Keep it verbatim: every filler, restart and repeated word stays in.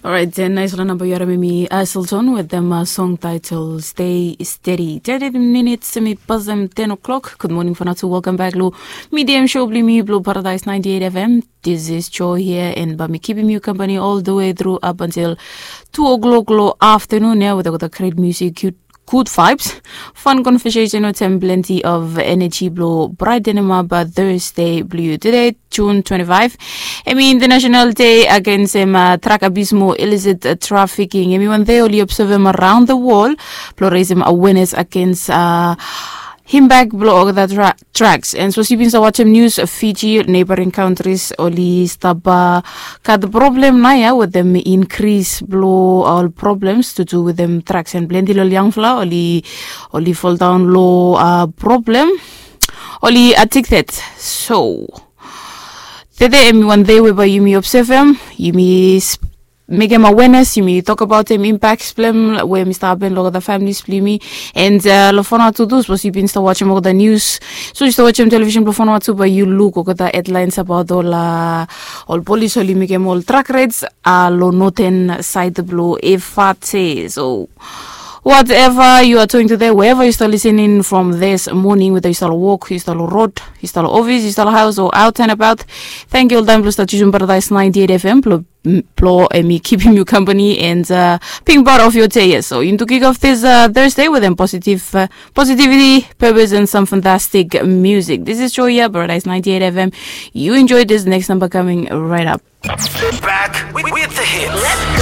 Orait, nais long namba yu harim em i Aselton wetem song title Stay Steady. Ten minutes em i pasem ten o'clock. Good morning for now to welcome back lo medium show bli mi blo Paradise ninety-eight F M. This is Joy here and ba mi kipim yu company all the way through up until two o'clock lo afternoon ya with the great music, good vibes, fun conversation wetem plenty of energy blo brightenem up Thursday blo yu today, June twenty-five. Em i International Day against em uh, drug abuse mo illicit uh, trafficking. Em i wan day oli observe em around the world blo raise em awareness against uh, him back blo olgeta drugs. And so si bin sa watch em news, Fiji, neighboring countries oli stap uh, gat problem na ya with them increase blo all problems to do with them drugs and plenty lo young fella oli oli fall down lo uh, problem oli addicted. So tede em i wan day we ba yumi observe em, yumi mekem awareness, yumi tok about em impacts blem we mi stap happen lo olgeta families blo yumi. And uh, lo Vanuatu tu, sapos yu bin stap watching olgeta news, so yu stap watching television blo Vanuatu, ba yu luk olgeta headlines about ol uh, ol polis oli mekem ol drug raids uh, lo northern side blo Efate. So whatever you are doing today, wherever you start listening from this morning, whether you start work, you start road, you start office, you start house or out and about, thank you all time blo start using Paradise ninety-eight F M blo blo em i kipim yu company and uh, being part of your day. So you need to kick off this uh, Thursday with em positive uh, positivity, purpose and some fantastic music. This is Joya, Paradise ninety-eight F M. You enjoy this next number coming right up. Back with, with the hits. Let's go.